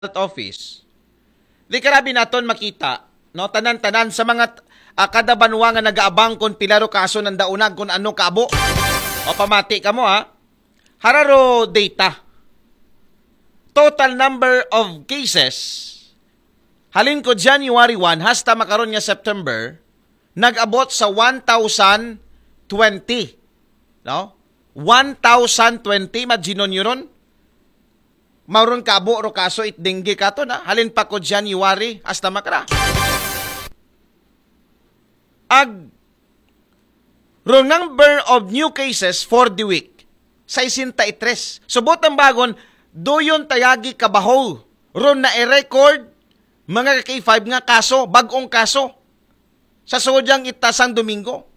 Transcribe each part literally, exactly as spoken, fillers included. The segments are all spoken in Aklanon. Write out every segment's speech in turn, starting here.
Health Office. Di karabi naton makita, no? Tanan-tanan sa mga, ah, kada banwa nga nagaabang kung pila ro kaso nanda unag kung ano kaabo. O pamati kamo, ha? Hararo data. Total number of cases halin ko January one hasta makaron nga September nag-abot sa one thousand twenty. No? One thousand twenty, imagine nyo ron. Mauron kaabo ro kaso it dengue kato na. Halin pa ko January hasta makara. Ag ro number of new cases for the week, sesenta y tres. Subot ang bagon, duyon tayagi kabaho ron na i-record mga ka-K five nga kaso, bagong kaso. Sa sudyang itasang Domingo.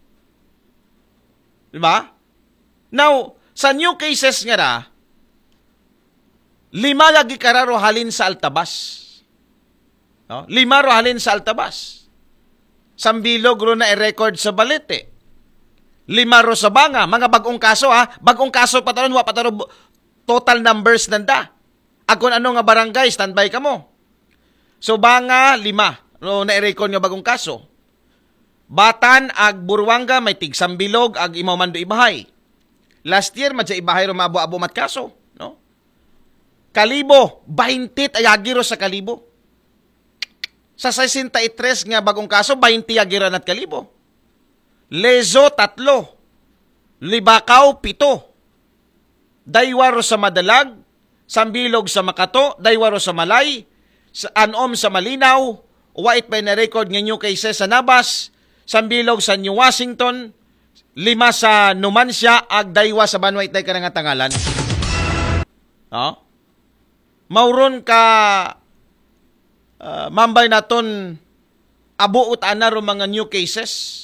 Di ba? Now, sa new cases nga ra, lima lagi kararo halin sa Altabas. No? Lima ro halin sa Altabas. Sambilog ro na i-record sa Balete. Lima ro sa Banga, mga bagong kaso ha. Bagong kaso pa taron, wa pa taron bu- total numbers nanda. Ag kung ano nga barangay, standby kamo. So Banga, lima ro na i-record nga bagong kaso. Batan ag Buruanga may tig Sambilog ag Imaw Mando Ibahay. Last year, madya Ibahay ro maabo-abo mat kaso, no? Kalibo, baynte tayagi ro sa Kalibo. Sa sesenta y tres nga bagong kaso, baynte yagi ra nat Kalibo. Lezo, tatlo. Libacao, pito. Daywa ro sa Madalag, Sambilog sa Makato, Daywa ro sa Malay, sa Anom sa Malinaw, wait by na record nga new cases sa Nabas, Sambilog sa New Washington, lima sa Numancia, ag Daywa sa Banwa itay ka nga tangalan. No? Mauron ka, ah, mambay naton abuot ana ro mga new cases.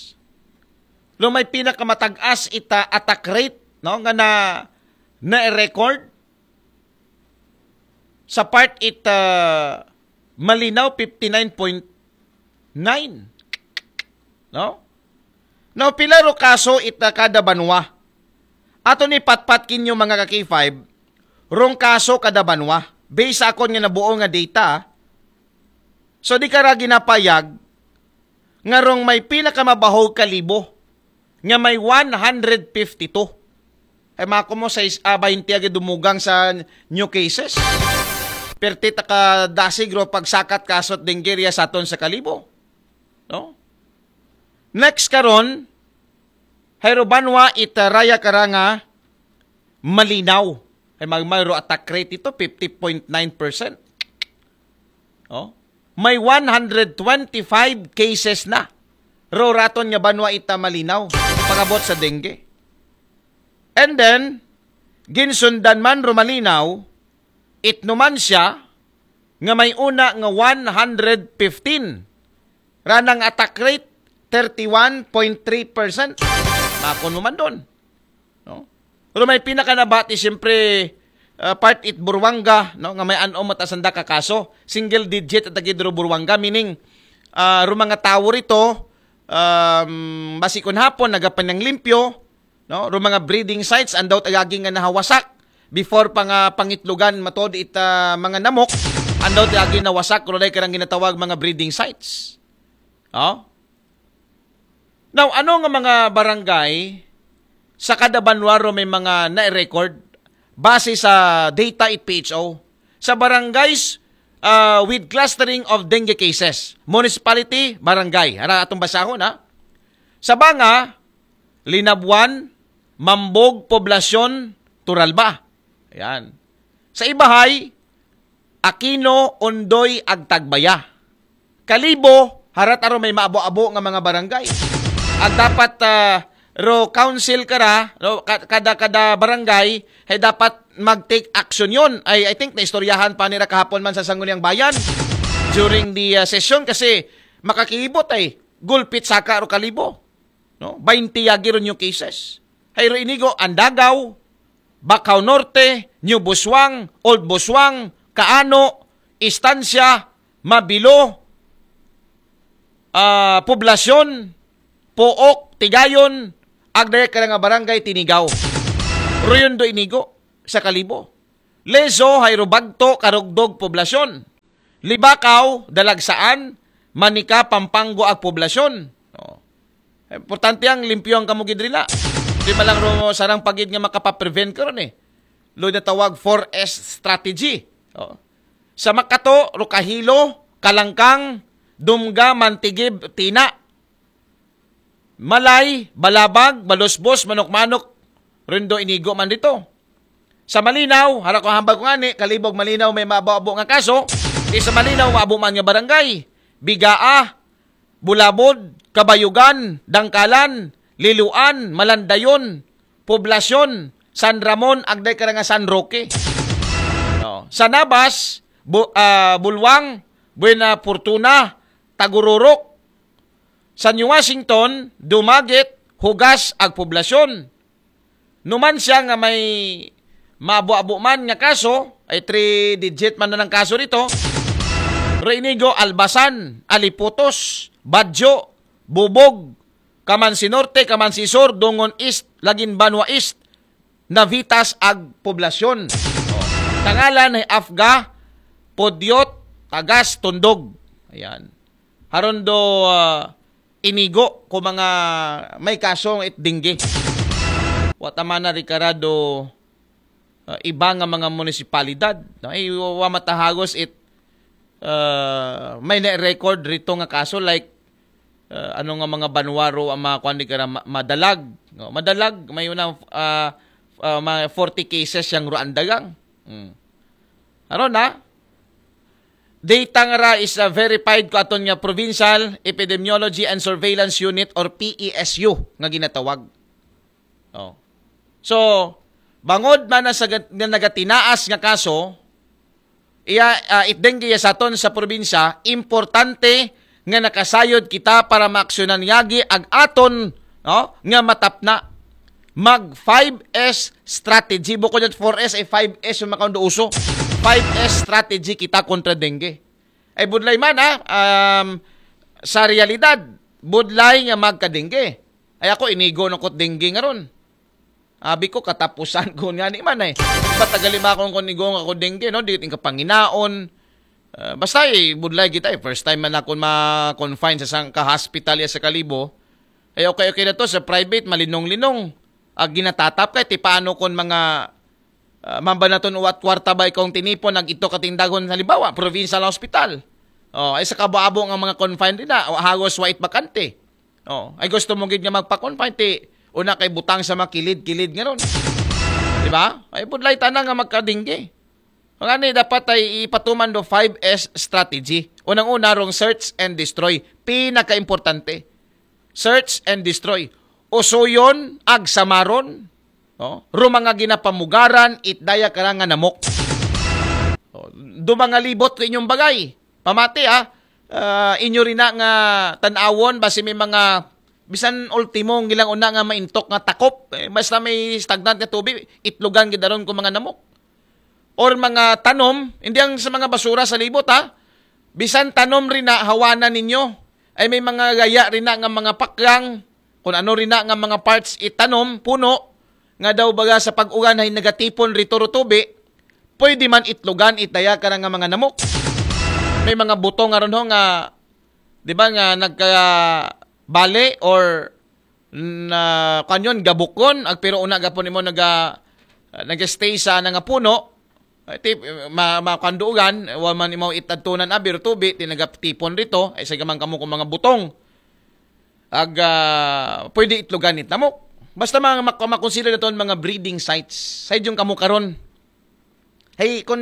Lo may pinakamatag-as ita attack rate, no, nga na na-record sa part it, ah, Malinaw, fifty-nine point nine. No? Now, pila ro kaso ita kada banwa? Ato ni patpat kinyo mga ka-K five, rong kaso kada banwa. Based sa akon nga nabuo nga data, ah. So, di ka ra ginapayag nga rong may pinakamabaho Kalibo nga may one hundred fifty-two. Ay, mako mo sa is-, ah, baynte agi dumugang sa new cases. Perti taka dasig ro pagsakat kasot dengue riya sa aton sa Kalibo. No? Next karon, hayro banwa ita raya kara nga Malinaw. Ay, magmayro attack rate ito, fifty point nine percent. Oh? May one hundred twenty-five cases na ro raton nga banwa ita Malinaw pagabot sa dengue. And then, ginsundan man ro Malinaw, it Numancia nga may una nga one hundred fifteen. Ranang attack rate, thirty-one point three percent. Makon mo man doon. No? Pero may pinakanabati, siyempre, ah, part it Buruanga, no, nga may anom at asanda ka kaso. Single digit at agid ro Buruanga, meaning, ah, ro mga tawo rito, um, basi kun hapon, nagapanang limpyo, no, ro mga breeding sites, andaw tagagi nga nahawasak. Before pa nga pangitlugan matod ita mga namok, andaw tagagi nawasak, ro day karang ginatawag mga breeding sites. Oh? Now, ano nga mga barangay sa kada banwa ro may mga na-record base sa data it P H O? Sa barangays, ah, with clustering of dengue cases, municipality, barangay. Ara atong basahon, ha? Sa Banga, Linabuan, Mambog, Poblacion, Turalba. Ayan. Sa Ibahay, Aquino, Ondoy, ag Tagbaya. Kalibo, harat aro may maabo-abo nga mga barangay. Ag dapat, ah, ro council kara, ro, ka-, kada, kada barangay, hay dapat mag-take action yon. Ay, I think naistoryahan pa nira kahapon man sa Sangguniang Bayan during the, ah, session kasi makakibot ay gulpit saka ro Kalibo. No? Baynte yagi ro new cases. Hayro inigo, Andagaw, Bacau Norte, New Busuang, Old Busuang, Kaano, Estancia, Mabilo, ah, Poblacion, Pook, Tigayon, ag dayag ka nga barangay Tinigaw. Ruyon do inigo sa Kalibo. Lezo, hayro Bagto, Carugdog, Poblacion. Libakaw, Dalagsaan, Manica, Pampanga ag poblasyon. No. Importante ang limpyo ang kamo gid rila. Di ba lang ro sarang pagid nga makapaprevent karon eh. Lo na tawag four S strategy. Oh. Sa Makato, Rokahilo, Kalangkang, Dumga, Mantigib, Tina. Malay, Balabag, Balusbos, Manok-Manok, Rindo, Inigo man dito. Sa Malinaw, hara ko hambal ko ngani, Kalibo ag Malinaw may maabo-abo nga kaso. Di sa Malinaw, maabo man nga barangay. Bigaa, Bulabod, Kabayugan, Dangkalan, Liluan, Malandayon, Poblasyon, San Ramon, agday ka nga San Roque. Oh. Sa Nabas, Bu- ah, Bulwang, Buena Fortuna, Tagururok, San Washington, Dumaguete, Hugas, ag Poblasyon. Numan siya nga may maabo-abo man nga kaso, ay three digit man na ng kaso dito. Reinigo, Albasan, Aliputos, Badjo, Bubog, Kamansi Norte, Kamansi Sur, Dungon East, Lagin Banwa East, Navitas ag Poblasyon. Tangalan ay Afga, Pudyot, Tagas, Tundog. Ayan. Haron do ah, Inigo ko mga may kasong it dengue. Wa ta man na rikarado ah, iba nga mga munisipalidad. No? Ay, wa matahagos it ah, may na-record rito nga kaso like ah, ano nga mga banwaro ang mga kwan di ka na ma- madalag. No? Madalag, may una ah, ah, mga forty cases yang ruandagang. Hmm. Aron na, data nga ra is ah, verified ko aton nga Provincial Epidemiology and Surveillance Unit or P E S U nga ginatawag. Oh. So, bangod man na sa gat- nga nagatinaas nga kaso, iya ah, it dengue iya sa aton sa probinsya, importante nga nakasayod kita para maaksyonan yagi ag aton no, nga matapna. Mag five S strategy. Bukod at four S ay five S yung makaundo uso. Five S strategy kita kontra dengue. Ay budlay man ha, um, sa realidad, budlay nga magka-dengue. Ay ako, inigo na ko't dengue nga ron. Abi ko, katapusan ko nga ni man eh. Matagal lima akong kung igo nga ko dengue, no? Di yung kapanginaon. Ah, basta eh, budlay kita eh. First time man ako ma-confine sa sangka hospital ya sa Kalibo. Eh okay, okay na to, sa private, malinong-linong. Ag ginatatap kay, ti paano kung mga ah, mamba naton uwat kwarta ba ikong tinipon ag ito katindagon halimbawa provincial hospital. Oh, ay sa kabuabo nga mga confined din na, hagos wait bakante. Oh, ay gusto mo gid nga magpa-confine ti una kay butang sa mga kilid-kilid nga ron. Di ba? Ay budlay tana nga magkadingge. Mga ni dapat ay ipatuman do five S strategy. Unang-una rong search and destroy. Pinakaimportante. Search and destroy. Usuyon, agsamaron, no? Ro mga ginapamugaran, itdaya kara nga namok. O, do mga libot ko inyong bagay. Pamati ah, Ah, inyo rin na nga tanawon, basi may mga, bisan ultimo, ang ilang una nga maintok nga takop. Eh, basta may stagnant nga tubig, itlogan gidaron ko mga namok. Or mga tanom, hindi ang sa mga basura sa libot ha. Bisan tanom rin na hawanan ninyo. Ay may mga gaya rin na nga mga paklang, kung ano rin na nga mga parts itanom, puno, nga daw baga sa pag-ulan ay nagatipon rito rutubi, pwede man itlogan itaya ka na nga mga namok. May mga butong nga ron ho nga, di ba nga nagkabali or na kanyon gabukon ag pero una gapon imo naga nag-stay sa na nga puno. Ay, ti ma, makandugan wa man imo itadtunan abi ro tubi ti nagatipon rito ay sa gamang kamo kung mga butong ag ah, pwede itlogan ni tamok. Basta mga mak- makonsider naton mga breeding sites sa idyong kamo karon. Hey, kung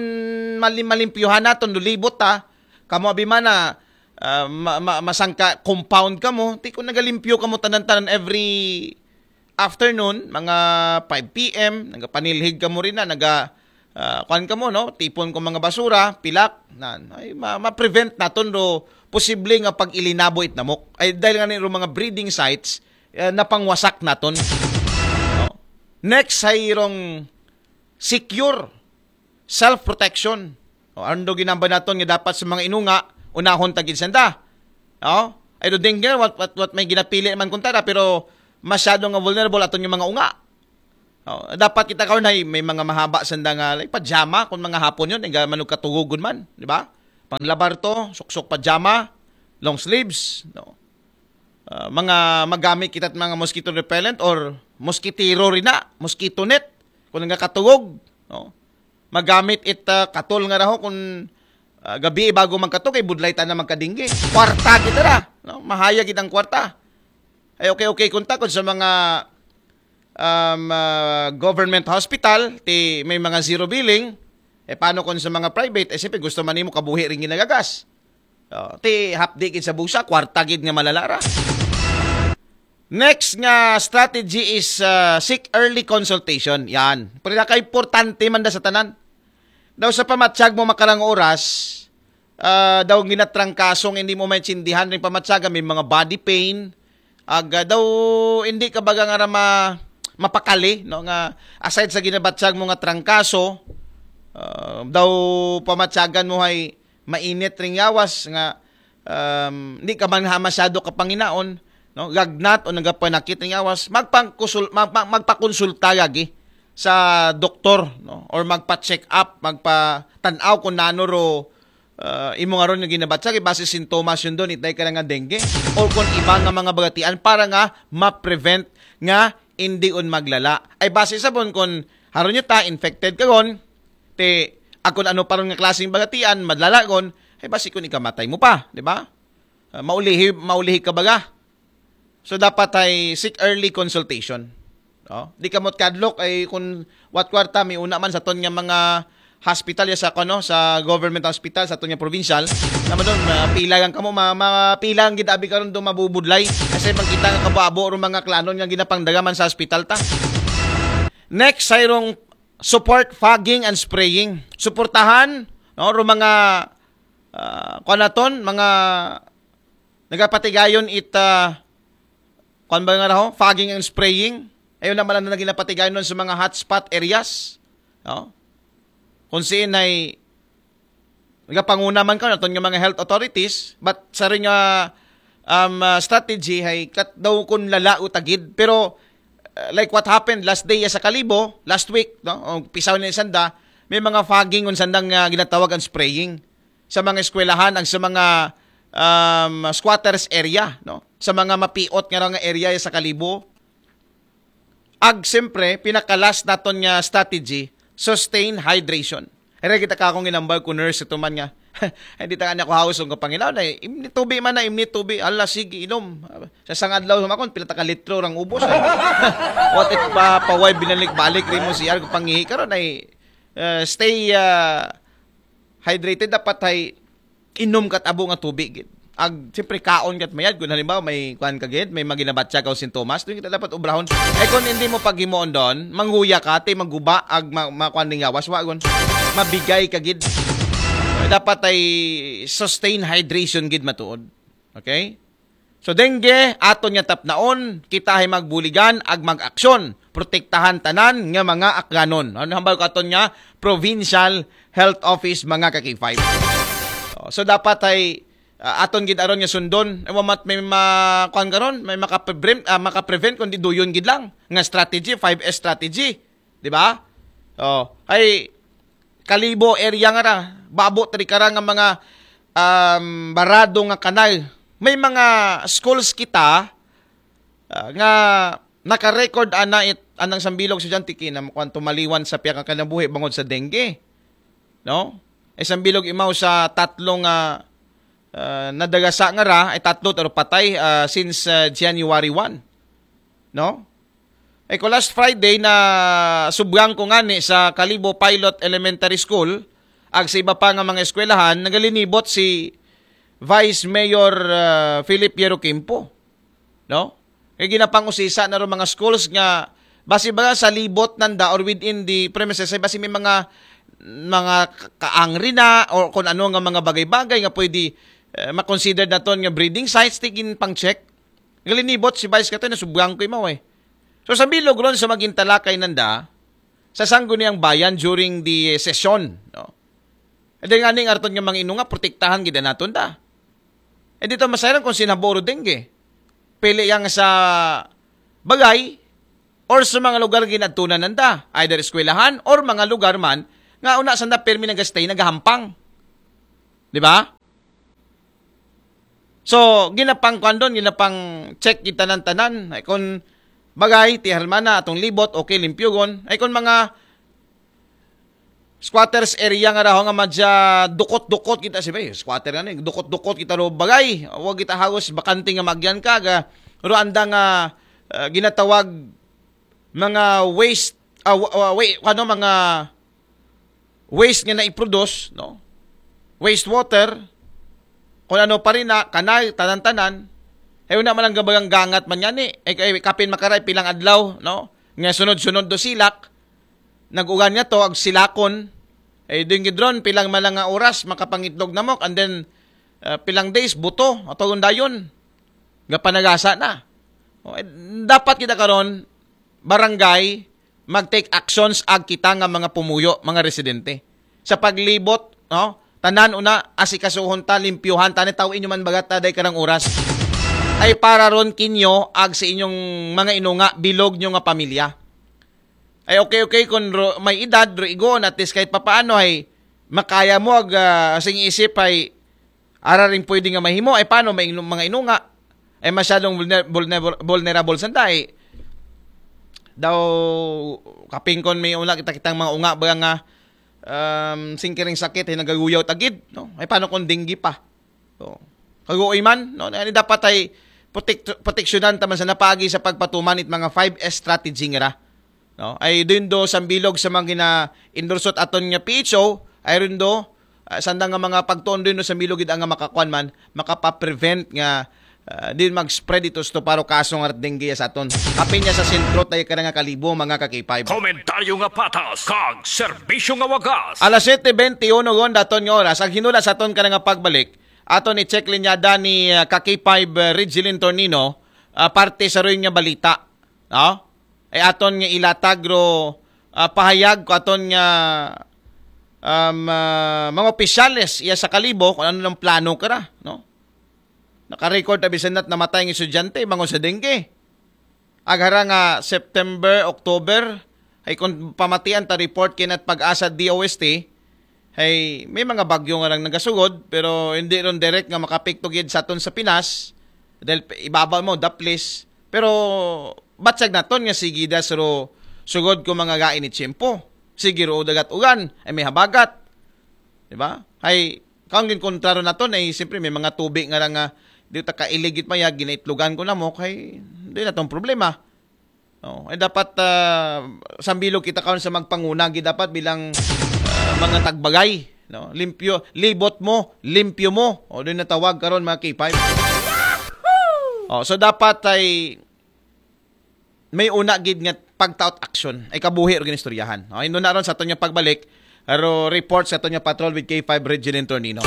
malim malimpyuhan naton lulibot ta, kamo abi man na ah, ma- ma- masangka compound kamo, ti kung nagalimpyo kamo tanan-tanan every afternoon, mga five p m, nagapanilhig kamo rin na, naga ah, kuan kamo no, tipon ko mga basura, pilak, nan. Ay ma- ma-prevent naton do posible nga pag-ilinabo it namok. Ay dahil nga ni ro mga breeding sites eh, napangwasak naton. No? Next ay rong secure self-protection. O, ano do ginamba naton nga dapat sa mga inunga, unahon ta gid sanda. O, ay do dengue, what, what, what may ginapili man kunta na, pero masyado nga vulnerable aton yung mga unga. O, dapat kita karon ay may mga mahaba sanda nga like pajama kung mga hapon yun, nga manugkatugugon man, di ba? Panglabar to, suksok pajama, long sleeves, no? Ah, mga magamit kita mga mosquito repellent or mosquitero rin na, mosquito net. Kung nagkatulog, no? Magamit it ah, katol nga raho kung ah, gabi bago magkatog, ay budlay ta na magkadinggi. Kwarta kita ra, no? Mahaya gid ang kwarta. Ay okay, okay, kung takod sa mga um, ah, government hospital, ti may mga zero billing, eh paano kung sa mga private, eh siyempre gusto man nimo kabuhi rin ginagagas. Oh, ti hapdi gid sa busa, kwarta gid nga malalara. Next nga strategy is ah, seek early consultation. Yan. Pero nakaimportante man da sa tanan. Daw sa pamatsag mo makarang oras, ah, daw ginatrangkasong hindi mo maintindihan rin pamatsaga, may mga body pain, aga daw hindi ka baga nga rama mapakali, no, nga aside sa ginabatsag mo nga trangkaso, ah, daw pamatsagan mo hay mainit ring yawas nga um, di ka man ha masyado kapanginaon, no, gagnat o nagapanakit ring yawas, magpangkusul, mag, mag, magpakonsulta lagi sa doktor, no, or magpa-check up, magpatanaw kung nano ro ah, imo nga ron nga ginabatsag, base sintomas yun doon, itay ka na nga dengue, or kung iba nga mga bagatian para nga ma-prevent nga hindi on maglala. Ay base sa bon kung haron nyo ta, infected ka gon, te, akon ano pa ron nga klaseng bagatian, madlala gon, ay base kung ikamatay mo pa, di ba? Ah, maulihi, maulihi ka baga. So dapat ay seek early consultation. No? Di ka mo kadlok ay kung what kwarta may una man sa ton nga mga hospital ya sa kuno sa government hospital sa ton nga provincial naman doon uh, pila lang kamo ma, ma pila lang gid abi karon do mabubudlay kasi pagkita nga kababo ro mga klanon nga ginapangdagaman sa hospital ta. Next, sayrong support fogging and spraying. Suportahan no ro mga uh, kuan naton, mga nagapatigayon it uh, kuan ba nga raho, fogging and spraying. Ayun naman ang naging napatigayon nun sa mga hotspot areas. No? Kung siin ay nagapanguna man ka naton nga mga health authorities, but sa rin nga um, uh, strategy ay kat daw kun lala o tagid. Pero uh, like what happened last day sa Kalibo, last week, no? O pisaw ni sanda, may mga fogging on sandang uh, ginatawag ang spraying sa mga eskwelahan, ang sa mga um, squatters area, no? Sa mga mapiot nga nga area sa Kalibo. Ag siyempre, pinakalas naton nga strategy, sustain hydration. Era kita ka akong inambal ko nurse ito man nga. Hindi ta kanya ko house ang kapangilaw na imni tubi man na imni tubi. Ala sige inom. Sa sang adlaw sumakon pila ta ka litro rang ubos. What if pa paway binalik-balik rin mo siya ko pangihi karon ay uh, stay uh, hydrated dapat ay inom kat abo nga tubig gid. Ag siyempre kaon kat mayad kun halimbawa may kuan ka gid, may maginabatya ka o sintomas, dun kita dapat obrahon. Ay kun hindi mo paghimuon doon, manghuya ka, ti maguba ag ma, ma kuan ning yawas wa gun. Mabigay ka gid. Dapat ay sustain hydration gid matuod. Okay? So dengue, aton nga tapnaon, kita ay magbuligan ag mag-aksyon. Protektahan tanan nga mga akganon. Ano hambal ko aton nga Provincial Health Office mga ka-K five. So, so dapat ay uh, aton gid aron nga sundon. Ay mamat may ma kuan karon, may makaprevent uh, makaprevent kundi duyon gid lang nga strategy, five S strategy. Di ba? Oh, ay Kalibo area nga ra, babo tri kara nga mga um, barado nga kanal. May mga schools kita uh, nga naka-record ana it anang sambilog sa dyan tiki na kuan tumaliwan sa piyakang kanabuhi bangod sa dengue. No? Ay sambilog imaw sa tatlong uh, uh, nadagasa nga ra ay tatlo pero patay uh, since uh, January one. No? Ay ko last Friday na subgang ko ngani sa Kalibo Pilot Elementary School ag sa iba pa nga mga eskwelahan nagalinibot si Vice Mayor uh, Philip Yerokimpo. No? Kay ginapangusisa na ro mga schools nga basi ba sa libot nanda or within the premises ay basi may mga mga kaangri na o kung ano nga mga bagay-bagay nga pwede uh, makonsider naton nga breeding sites tigin pang check. Galinibot si Vice Katoy na subgang ko imaw eh. So sa bilog ron sa maging talakay nanda, sa sangguniang bayan during the session. No? E di nga ning arton nga mga inunga, protektahan gid naton da. E dito masayran kung sinaboro dengue. Pili yang sa bagay or sa mga lugar ginadtunan nanda, either eskwelahan or mga lugar man nga una sanda permi nagastay nagahampang. Di ba? So, ginapang kwan doon, ginapang check kita ng tanan. Ay kung bagay, ti harmana, atong libot, okay, limpyo gon. Ay kung mga squatters area nga raho nga madya dukot-dukot kita si bay, squatter nga ni, dukot-dukot kita ro bagay. Huwag kita hagos bakante nga magyan ka, ga, ro anda nga ah, ginatawag mga waste, ah, wa- wa- wa- ano, mga waste nga naiproduce, no? Waste water, kung ano pa rin na, kanal, tanan-tanan. Eh, una man lang gabagang gangat man yan eh. Eh, eh, kapin makaray, pilang adlaw, no? Nga sunod-sunod do silak, nag-ugan nga to, ag silakon. Eh, doon gidron, pilang man lang nga oras, makapangitlog na mo, and then, ah, pilang days, buto, atong dayon. Nga panagasa na. O, eh, dapat kita karon, barangay, mag-take actions ag kita nga mga pumuyo, mga residente. Sa paglibot, no? Tanan una, asikasuhon ta, limpyuhan ta, ni tawin nyo man bagat ta, day karang oras. Ay para ron kinyo, ag sa inyong mga inunga, bilog nyo nga pamilya. Ay okay, okay, kung ro, may edad, ro igoon, at least kahit papaano, ay makaya mo, ag, ah, sing isip, ay ara rin pwede nga mahimo. Ay paano may inu- mga inunga? Ay masyadong vulner, vulner, vulnerable sa dai. Daw, kapingkon may una kita kitang mga unga ba nga um, singkiring sakit ay nagaguyaw tagid, no? Ay paano kung dengue pa? So, kaguoy man, no? Ani dapat ay protek- proteksyonan taman sa napagi sa pagpatuman it mga five S strategy nga ra. No? Ay doon do sa bilog sa mga gina-endorse aton nga P H O, ay rin do ah, sanda nga mga pagtuon din no sa bilog gid ang nga makakuan man, makapa-prevent nga ah, din mag-spread ito sa paro kaso nga dengue sa aton. Apin niya sa sentro tayo ka nga kalibo, mga ka-K five. Komentaryo nga patas, kag serbisyo nga wagas. Alas siyete bente uno gon daton nga oras, ang hinula sa aton ka nga pagbalik, aton i-check linyada ni ah, ka-K five ah, Regilin Tornino, ah, parte sa ruin nga balita. No? Ay aton nga ilatag ro ah, pahayag ko aton nga um, ah, mga opisyales iya sa kalibo kung ano ng plano kara, no? Naka-record na bisan na't namatay ang estudyante, bangon sa dengue. Aghara nga September, October, ay kung pamatian ta report kinat pag-asa D O S T, ay may mga bagyo nga lang nagasugod, pero hindi ron direct nga makapikto gid sa aton sa Pinas, dahil ibabaw mo, daplis. Pero batsag naton nga sige das ro sugod ko mga gain ni tiyempo. Sige ro dagat ugan, ay may habagat. Di ba? Ay, kaon gin kontra ron naton, ay siyempre may mga tubig nga lang nga di ta kailigit maya, ginaitlogan ko na mo, kay di na tong problema. No, ay dapat ah, sambilog kita karon sa magpanguna gid dapat bilang ah, mga tagbagay, no? Limpyo, libot mo, limpyo mo. O din natawag karon mga K five. Oh, so dapat ay may una gid nga pagtaot action ay kabuhi ro ginistoryahan. Okay, no na ron sa aton nga pagbalik, ro report sa aton nga patrol with K five Regilin Tornino.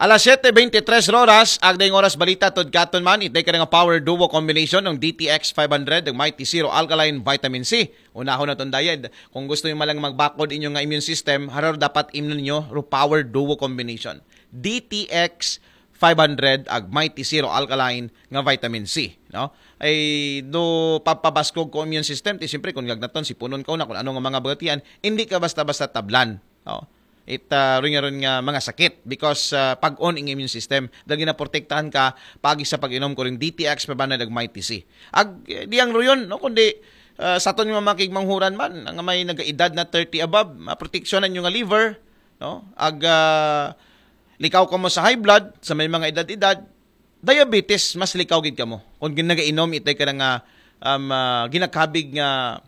Alas siyete bente tres oras, agdayng oras balita tod katon man, itay ka nga power duo combination ng D T X five hundred, ng Mighty Zero Alkaline Vitamin C. Unahon na tong diet. Kung gusto niyo malang magbakod inyo nga immune system, harar dapat imnon niyo ro power duo combination. D T X five hundred ag Mighty Zero Alkaline nga vitamin C, no? Ay do papabaskog ko immune system, ti siyempre kung gagnaton si punon ka na kung ano nga mga bagatian, hindi ka basta-basta tablan. Oh. It uh, rin nga rin nga mga sakit because uh, pag-on ang immune system dahil ginaprotektahan ka pagi sa pag-inom ko rin D T X pa ba na nag Mighty C. Ag eh, di ang ruyon no kundi uh, sa aton nga mga kigmanghuran man nga may nagaedad na thirty above, maproteksyonan yung nga liver, no? Ag uh, likaw ka mo sa high blood sa may mga edad-edad, diabetes mas likaw gid kamo kung ginagainom itay ka nga um, uh, ginakabig nga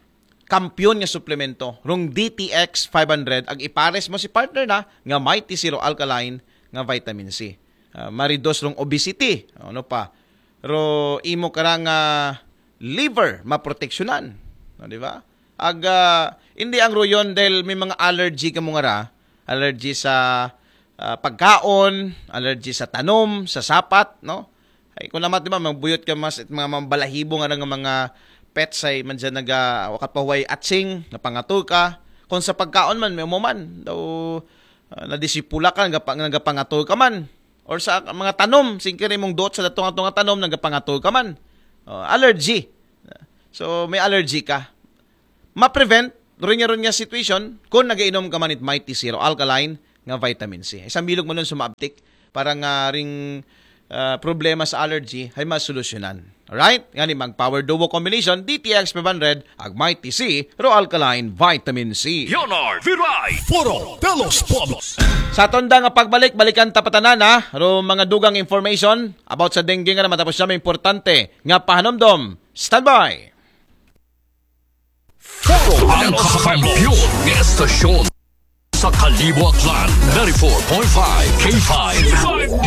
kampiyon nga suplemento rong D T X five hundred ag ipares mo si partner na nga Mighty Zero Alkaline nga vitamin C. Uh, maridos rong obesity, ano pa? Ro imo kara nga liver maproteksyonan, no, di ba? Ag uh, hindi ang ruyon dahil may mga allergy ka mo nga ra, allergy sa ah, pagkaon, allergy sa tanom, sa sapat, no? Ay kung naman, di ba, magbuyot ka mas mga mambalahibo nga nga mga pets ay man dyan naga wakat pahuway atsing, napangato ka. Kung sa pagkaon man, may umuman, daw ah, nadisipula ka, nagapa, nagapangato ka man. Or sa mga tanom, singkiri mong dot sa datong atong tanom, nagapangato ka man. Oh, allergy. So, may allergy ka. Ma-prevent ron nga ron nga situation kung nagainom ka man it Mighty Zero Alkaline nga vitamin C. Ay sa bilog man nun sumabtik para nga ring ah, problema sa allergy ay masolusyonan. Alright? Ngani mag Power Duo Combination, D T X five hundred, ag Mighty C, Ro Alkaline Vitamin C. Leonard Viray, Foro de los Pueblos. Sa aton da nga pagbalik, balikan ta pa tanan, ha, ro mga dugang information about sa dengue nga naman, tapos siya may importante nga pahanumdom. Standby! Foro ang kakampiyon ng estasyon sa Kalibo, Aklan, ninety-four point five K five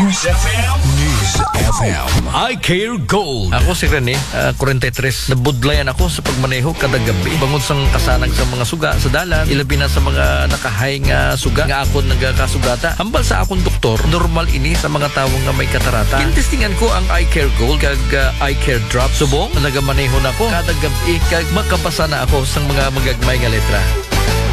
News F M. News F M. I Care Gold. Ako si Rene, ah, forty-three. Nabudlayan ako sa pagmaneho kada gabi. Bangod sang kasanag sa mga suga sa dalan, ilabi na sa mga nakahay nga suga nga akon nagakasugata. Hambal sa akong doktor, normal ini sa mga tawo nga may katarata. Gintestingan ko ang Eye Care Gold kag ah, Eye Care Drop. Subong, nagamaneho na ko kada gabi kag makabasa na ako sang mga magagmay nga letra.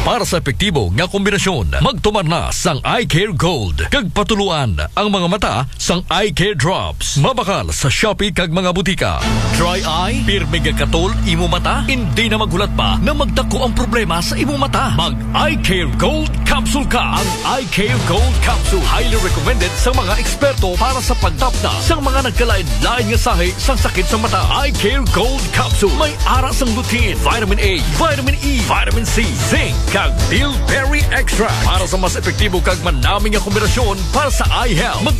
Para sa epektibo nga kombinasyon, magtumar na sang Eye Care Gold kag patuluan ang mga mata sang Eye Care Drops. Mabakal sa Shopee kag mga butika. Dry eye, pirmi nga katol imo mata, hindi na maghulat pa na magdako ang problema sa imo mata. Mag Eye Care Gold Capsule ka. Ang Eye Care Gold Capsule highly recommended sa mga eksperto para sa pagtapna sa mga nagkalain-lain nga sahi sang sakit sa mata. Eye Care Gold Capsule may ara sang lutein, vitamin A, vitamin E, vitamin C, zinc, kag bilberry extract para sa mas epektibo kag manami nga kombinasyon para sa eye health. Mag